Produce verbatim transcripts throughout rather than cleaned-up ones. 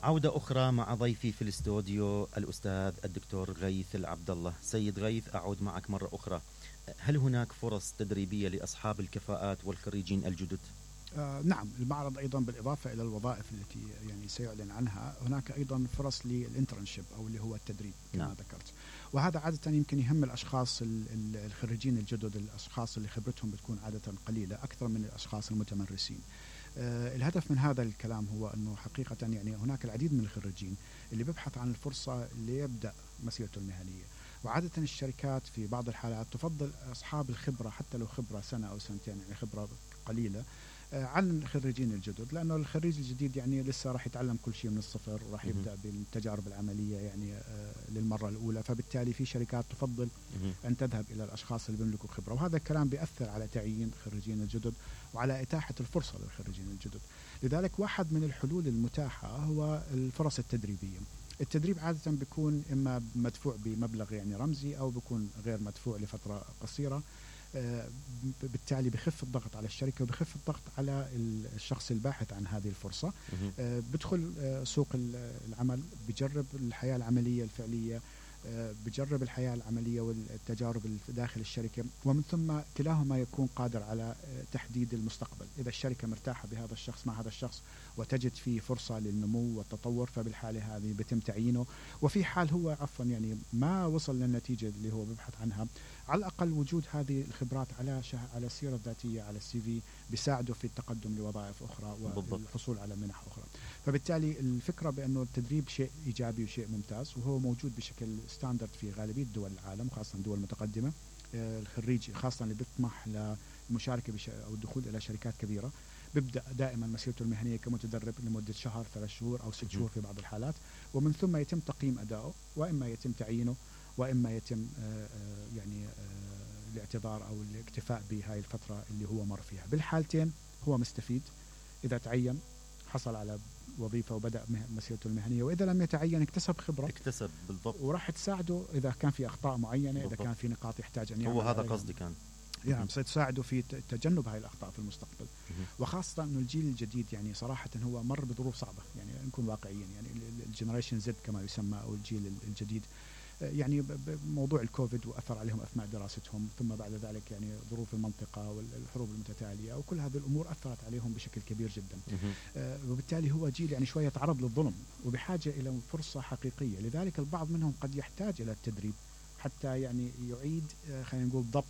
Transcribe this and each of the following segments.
عودة أخرى مع ضيفي في الاستوديو الأستاذ الدكتور غيث العبد الله. سيد غيث، أعود معك مرة أخرى. هل هناك فرص تدريبية لأصحاب الكفاءات والخريجين الجدد؟ آه نعم، المعرض أيضا بالإضافة إلى الوظائف التي يعني سيعلن عنها، هناك أيضا فرص للإنترنشيب أو اللي هو التدريب كما نعم. ذكرت. وهذا عادة يمكن يهم الأشخاص الخريجين الجدد، الأشخاص اللي خبرتهم بتكون عادة قليلة أكثر من الأشخاص المتمرسين. آه الهدف من هذا الكلام هو أنه حقيقة يعني هناك العديد من الخريجين اللي بيبحث عن الفرصة ليبدأ مسيرته المهنية، وعادة الشركات في بعض الحالات تفضل أصحاب الخبرة حتى لو خبرة سنة أو سنتين، يعني خبرة قليلة عن الخريجين الجدد، لأنه الخريج الجديد يعني لسه راح يتعلم كل شيء من الصفر وراح يبدأ بالتجارب العملية يعني للمرة الأولى، فبالتالي في شركات تفضل أن تذهب إلى الأشخاص اللي بيملكوا خبرة، وهذا الكلام بيأثر على تعيين الخريجين الجدد وعلى إتاحة الفرصة للخريجين الجدد. لذلك واحد من الحلول المتاحة هو الفرص التدريبية. التدريب عادة بيكون إما مدفوع بمبلغ يعني رمزي أو بيكون غير مدفوع لفترة قصيرة، بالتالي بخف الضغط على الشركة وبخف الضغط على الشخص الباحث عن هذه الفرصة. بدخل سوق العمل، بجرب الحياة العملية الفعلية، بجرب الحياة العملية والتجارب داخل الشركة، ومن ثم كلاهما يكون قادر على تحديد المستقبل. إذا الشركة مرتاحة بهذا الشخص مع هذا الشخص وتجد فيه فرصة للنمو والتطور، فبالحالة هذه بتم تعيينه. وفي حال هو عفوا يعني ما وصل للنتيجة اللي هو ببحث عنها، على الأقل وجود هذه الخبرات على شه... على السيرة الذاتية، على السي في، بيساعده في التقدم لوظائف أخرى والحصول على منح أخرى. فبالتالي الفكرة بأنه التدريب شيء إيجابي وشيء ممتاز، وهو موجود بشكل ستاندرد في غالبية دول العالم، خاصة دول متقدمة. الخريج خاصة اللي بيطمح للمشاركة بش... أو الدخول إلى شركات كبيرة بيبدأ دائما مسيرته المهنية كمتدرب لمدة شهر، ثلاث شهور أو ست شهور في بعض الحالات، ومن ثم يتم تقييم أدائه، وإما يتم تعيينه وإما يتم يعني الاعتذار أو الاكتفاء بهاي الفترة اللي هو مر فيها. بالحالتين هو مستفيد، إذا تعين حصل على وظيفة وبدأ مسيرته المهنية، وإذا لم يتعين اكتسب خبرة، اكتسب بالضبط، وراح تساعده إذا كان في أخطاء معينة، بالضبط. إذا كان في نقاط يحتاج أن يعمل، هو هذا قصدي كان يعني ستساعده في تجنب هاي الأخطاء في المستقبل. وخاصة أنه الجيل الجديد يعني صراحة هو مر بظروف صعبة، يعني نكون واقعيين، يعني الجنريشن زد كما يسمى أو الجيل الجديد، يعني موضوع الكوفيد وأثر عليهم أثناء دراستهم، ثم بعد ذلك يعني ظروف المنطقة والحروب المتتالية وكل هذه الأمور أثرت عليهم بشكل كبير جدا. آه وبالتالي هو جيل يعني شوية تعرض للظلم وبحاجة إلى فرصة حقيقية. لذلك البعض منهم قد يحتاج إلى التدريب حتى يعني يعيد آه خلينا نقول ضبط،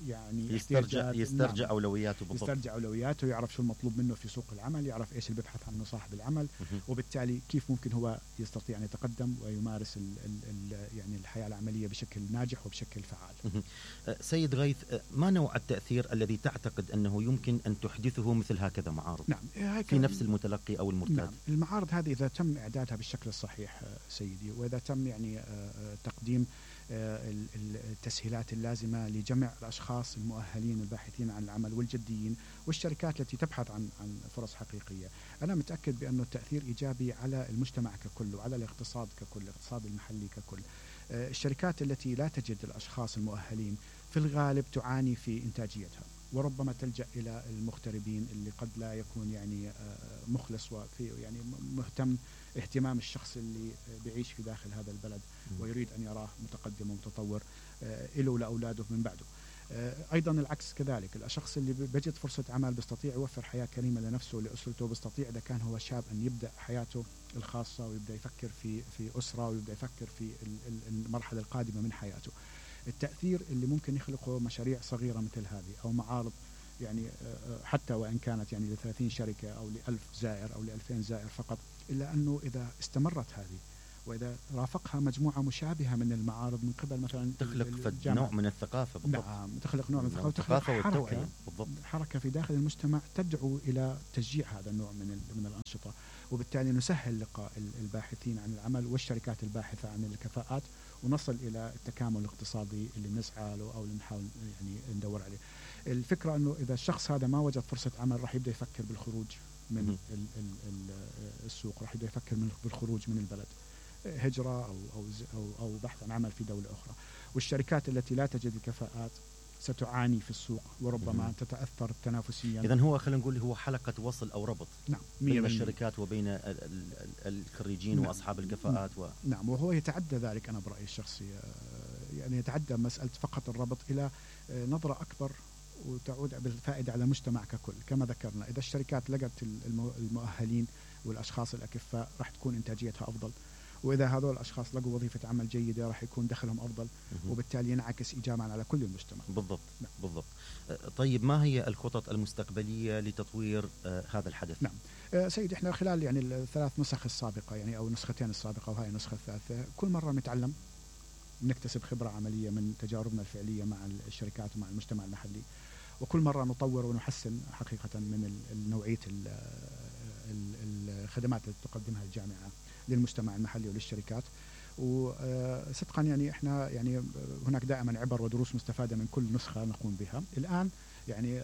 يعني يسترجع يسترجع نعم. أولوياته بالضبط، يسترجع أولوياته، يعرف شو المطلوب منه في سوق العمل، يعرف إيش اللي بيبحث عنه صاحب العمل، وبالتالي كيف ممكن هو يستطيع أن يتقدم ويمارس ال ال ال يعني الحياة العملية بشكل ناجح وبشكل فعال. سيد غيث، ما نوع التأثير الذي تعتقد أنه يمكن أن تحدثه مثل هكذا معارض نعم. في نفس المتلقي أو المرتاد؟ نعم. المعارض هذه إذا تم إعدادها بالشكل الصحيح سيدي، وإذا تم يعني تقديم التسهيلات اللازمة لجمع الأشخاص المؤهلين الباحثين عن العمل والجديين والشركات التي تبحث عن عن فرص حقيقية، أنا متأكد بأنه التأثير إيجابي على المجتمع ككل وعلى الاقتصاد ككل، الاقتصاد المحلي ككل. الشركات التي لا تجد الأشخاص المؤهلين في الغالب تعاني في إنتاجيتها، وربما تلجأ إلى المغتربين اللي قد لا يكون يعني مخلص وفي يعني مهتم اهتمام الشخص اللي بيعيش في داخل هذا البلد ويريد أن يراه متقدم ومتطور له ولأولاده من بعده. أيضا العكس كذلك، الشخص اللي بيجد فرصة عمل بيستطيع يوفر حياة كريمة لنفسه ولأسرته، بيستطيع إذا كان هو شاب أن يبدأ حياته الخاصة ويبدأ يفكر في في أسرة ويبدأ يفكر في المرحلة القادمة من حياته. التأثير اللي ممكن يخلقه مشاريع صغيرة مثل هذه أو معارض، يعني حتى وإن كانت يعني لثلاثين شركة أو لألف زائر أو لألفين زائر فقط، إلا أنه إذا استمرت هذه وإذا رافقها مجموعة مشابهة من المعارض من قبل مثلا تخلق نوع من الثقافة بالضبط. نعم، تخلق نوع من الثقافة وتخلق حركة بالضبط. حركة في داخل المجتمع تدعو إلى تشجيع هذا النوع من من الأنشطة، وبالتالي نسهل لقاء الباحثين عن العمل والشركات الباحثة عن الكفاءات، ونصل إلى التكامل الاقتصادي اللي بنسعى له أو اللي نحاول يعني ندور عليه. الفكرة أنه إذا الشخص هذا ما وجد فرصة عمل راح يبدأ يفكر بالخروج من ال ال السوق، راح يبدأ يفكر بالخروج من البلد، هجرة أو أو أو أو بحث عن عمل في دولة أخرى. والشركات التي لا تجد الكفاءات ستعاني في السوق وربما مم. تتأثر تنافسيا. إذن هو خلينا نقول هو حلقة وصل أو ربط نعم بين الشركات وبين الخريجين نعم. وأصحاب الكفاءات و... نعم وهو يتعدى ذلك أنا برأيي الشخصي، يعني يتعدى مسألة فقط الربط إلى نظرة أكبر وتعود بالفائدة على المجتمع ككل. كما ذكرنا إذا الشركات لقت المؤهلين والأشخاص الأكفاء راح تكون إنتاجيتها أفضل، وإذا هذول الأشخاص لقوا وظيفة عمل جيدة راح يكون دخلهم أفضل وبالتالي ينعكس إيجابا على كل المجتمع. بالضبط نعم. بالضبط. طيب ما هي الخطط المستقبلية لتطوير آه هذا الحدث؟ نعم آه سيد احنا خلال يعني الثلاث نسخ السابقة يعني أو النسختين السابقة وهي النسخة الثالثة كل مرة نتعلم نكتسب خبرة عملية من تجاربنا الفعلية مع الشركات ومع المجتمع المحلي، وكل مرة نطور ونحسن حقيقة من نوعية الخدمات التي تقدمها الجامعة للمجتمع المحلي وللشركات. وصدقا يعني احنا يعني هناك دائما عبر ودروس مستفادة من كل نسخة نقوم بها. الآن يعني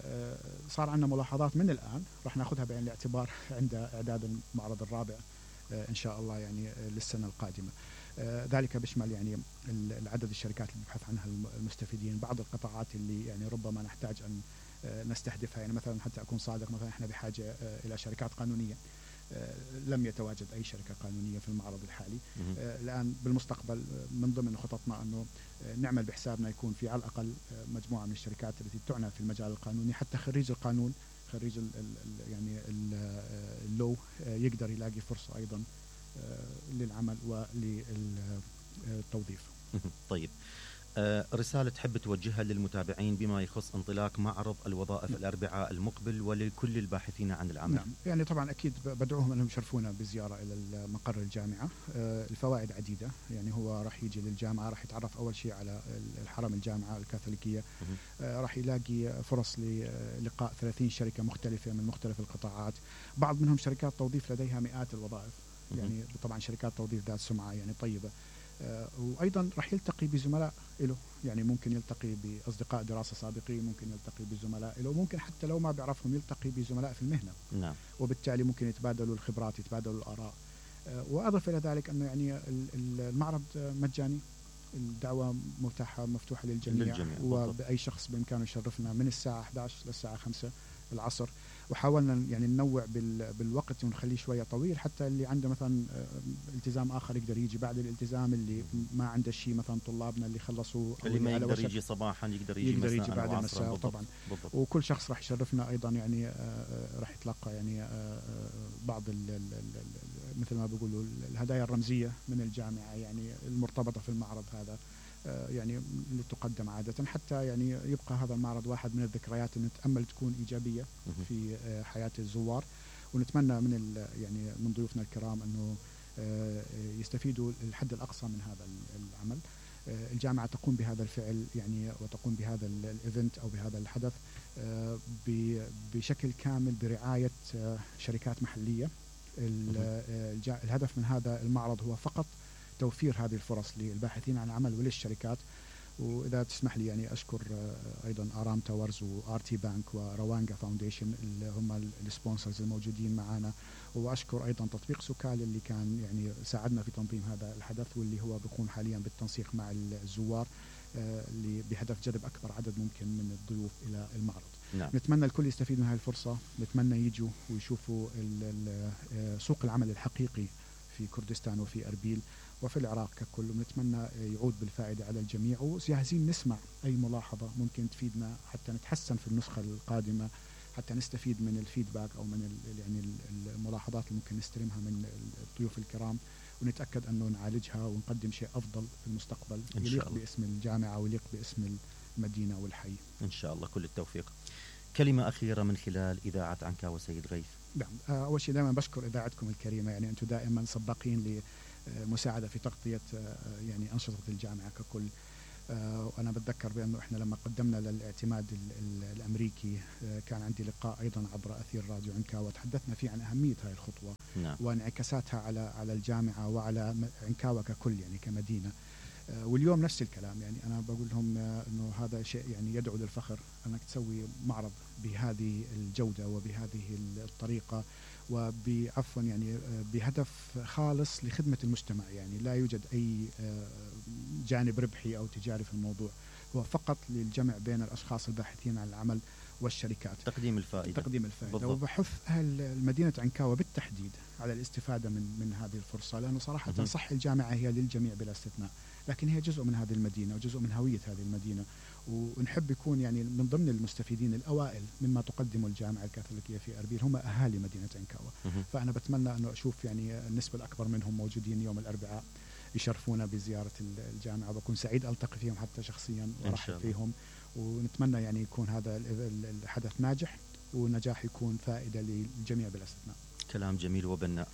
صار عندنا ملاحظات من الآن راح ناخذها بعين الاعتبار عند إعداد المعرض الرابع إن شاء الله يعني للسنة القادمة. ذلك بيشمل يعني العدد الشركات اللي بيبحث عنها المستفيدين، بعض القطاعات اللي يعني ربما نحتاج أن نستهدفها. يعني مثلا حتى أكون صادق مثلا احنا بحاجة إلى شركات قانونية، لم يتواجد أي شركة قانونية في المعرض الحالي. الآن بالمستقبل من ضمن خططنا أنه نعمل بحسابنا يكون في على الأقل مجموعة من الشركات التي تعنى في المجال القانوني، حتى خريج القانون خريج ال ال يعني اللو يقدر يلاقي فرصة أيضا للعمل وللتوظيف. طيب رسالة تحب توجهها للمتابعين بما يخص انطلاق معرض الوظائف نعم. الأربعاء المقبل ولكل الباحثين عن العمل؟ نعم يعني طبعا أكيد بدعوهم أنهم يشرفونا بزيارة إلى مقر الجامعة. الفوائد عديدة، يعني هو راح يجي للجامعة راح يتعرف أول شيء على الحرم الجامعة الكاثوليكية، راح يلاقي فرص للقاء ثلاثين شركة مختلفة من مختلف القطاعات، بعض منهم شركات توظيف لديها مئات الوظائف، يعني طبعا شركات توظيف ذات سمعة يعني طيبة. آه وأيضا راح يلتقي بزملاء له، يعني ممكن يلتقي بأصدقاء دراسة سابقين، ممكن يلتقي بزملاء له، ممكن حتى لو ما بيعرفهم يلتقي بزملاء في المهنة. نعم. وبالتالي ممكن يتبادلوا الخبرات يتبادلوا الآراء. آه وأضف إلى ذلك أنه يعني المعرض مجاني، الدعوة متاحة مفتوحة للجميع, للجميع. وبأي شخص بإمكانه يشرفنا من الساعة إحدى عشر للساعة خمسة العصر. وحاولنا يعني ننوع بالوقت ونخليه شوية طويل حتى اللي عنده مثلا التزام آخر يقدر يجي بعد الالتزام، اللي ما عنده شيء مثلا طلابنا اللي خلصوا اللي ما يقدر يجي صباحا يقدر يجي, يقدر يجي بعد المساء طبعا. بالضبط. وكل شخص راح يشرفنا أيضا يعني راح يتلقى يعني بعض ال ال ال مثل ما بيقولوا الهدايا الرمزية من الجامعة يعني المرتبطة في المعرض هذا، يعني اللي تقدم عادة، حتى يعني يبقى هذا المعرض واحد من الذكريات اللي نتأمل تكون إيجابية في حياة الزوار. ونتمنى من يعني من ضيوفنا الكرام أنه يستفيدوا الحد الأقصى من هذا العمل. الجامعة تقوم بهذا الفعل يعني وتقوم بهذا الإيفنت أو بهذا الحدث بشكل كامل برعاية شركات محلية. الهدف من هذا المعرض هو فقط توفير هذه الفرص للباحثين عن العمل وللشركات. وإذا تسمح لي يعني أشكر أيضا آرام تاورز وآر تي بانك وروانجا فاونديشن اللي هم السبونسرز الموجودين معنا، وأشكر أيضا تطبيق سوكال اللي كان يعني ساعدنا في تنظيم هذا الحدث واللي هو بيقوم حاليا بالتنسيق مع الزوار اللي بهدف جذب أكبر عدد ممكن من الضيوف إلى المعرض. نعم. نتمنى الكل يستفيد من هذه الفرصة، نتمنى يجوا ويشوفوا سوق العمل الحقيقي في كردستان وفي أربيل وفي العراق ككل، ونتمنى يعود بالفائدة على الجميع. وجاهزين نسمع أي ملاحظة ممكن تفيدنا حتى نتحسن في النسخة القادمة، حتى نستفيد من الفيدباك أو من يعني الملاحظات اللي ممكن نستلمها من الضيوف الكرام، ونتأكد أنه نعالجها ونقدم شيء أفضل في المستقبل يليق باسم الجامعة ويليق باسم المدينة والحي إن شاء الله. كل التوفيق. كلمة أخيرة من خلال إذاعة عنكاوة سيد غيث. نعم، أول شيء دائما بشكر إذاعتكم الكريمة، يعني أنتم دائما سباقين لمساعدة في تغطية يعني أنشطة الجامعة ككل. وأنا بتذكر بأنه إحنا لما قدمنا للاعتماد الأمريكي كان عندي لقاء أيضا عبر أثير راديو عنكاوة تحدثنا فيه عن أهمية هذه الخطوة. نعم. وانعكاساتها على على الجامعة وعلى عنكاوة ككل يعني كمدينة. واليوم نفس الكلام، يعني أنا بقول لهم أنه هذا شيء يعني يدعو للفخر أنك تسوي معرض بهذه الجودة وبهذه الطريقة وبعفوا يعني بهدف خالص لخدمة المجتمع، يعني لا يوجد أي جانب ربحي أو تجاري في الموضوع، هو فقط للجمع بين الأشخاص الباحثين عن العمل والشركات، تقديم الفائدة تقديم الفائدة. بالضبط. وبحث أهل مدينة عنكاوة بالتحديد على الاستفادة من من هذه الفرصة، لأنه صراحة مه. صح الجامعة هي للجميع بلا استثناء، لكن هي جزء من هذه المدينة وجزء من هوية هذه المدينة، ونحب يكون يعني من ضمن المستفيدين الأوائل مما تقدمه الجامعة الكاثوليكية في أربيل هم أهالي مدينة عنكاوة. مه. فأنا بتمنى أنه أشوف يعني النسبة الأكبر منهم موجودين يوم الأربعاء يشرفونا بزيارة الجامعة، وبكون سعيد ألتقي فيهم حتى شخصيا وأرحب فيهم، ونتمنى يعني يكون هذا الحدث ناجح ونجاح يكون فائدة للجميع بلا استثناء. كلام جميل وبناء.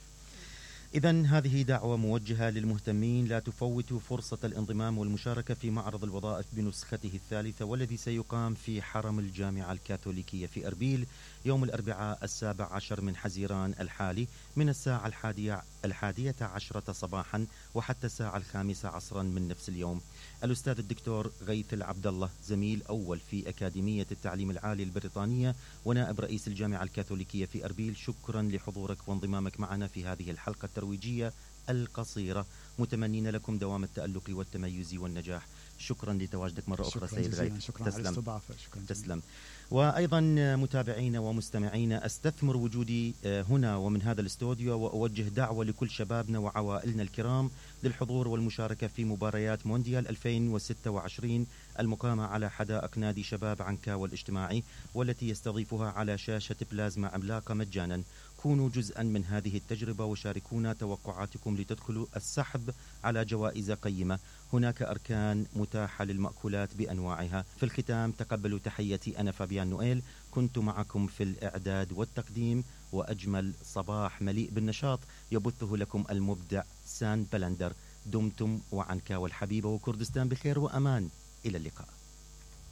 إذن هذه دعوة موجهة للمهتمين، لا تفوتوا فرصة الانضمام والمشاركة في معرض الوظائف بنسخته الثالثة، والذي سيقام في حرم الجامعة الكاثوليكية في أربيل يوم الأربعاء السابع عشر من حزيران الحالي من الساعة الحادية, الحادية عشرة صباحا وحتى الساعة الخامسة عصرا من نفس اليوم. الأستاذ الدكتور غيث العبد الله، زميل أول في أكاديمية التعليم العالي البريطانية ونائب رئيس الجامعة الكاثوليكية في أربيل، شكرا لحضورك وانضمامك معنا في هذه الحلقة الترويجية القصيرة، متمنين لكم دوام التألق والتميز والنجاح. شكرا لتواجدك مرة أخرى سيد غيث. شكرا على الاستضافة. شكرا تسلم. وأيضا متابعينا ومستمعينا، أستثمر وجودي هنا ومن هذا الاستوديو وأوجه دعوة لكل شبابنا وعوائلنا الكرام للحضور والمشاركة في مباريات مونديال ألفين وستة وعشرين المقامة على حدائق نادي شباب عنكاوة الاجتماعي، والتي يستضيفها على شاشة بلازما عملاقة مجانا. كونوا جزءا من هذه التجربة وشاركونا توقعاتكم لتدخلوا السحب على جوائز قيمة. هناك أركان متاحة للمأكولات بأنواعها. في الختام تقبلوا تحياتي، أنا فابيان نويل، كنت معكم في الإعداد والتقديم، وأجمل صباح مليء بالنشاط يبثه لكم المبدع سان بلندر. دمتم وعنكاوة الحبيبة وكردستان بخير وأمان. إلى اللقاء.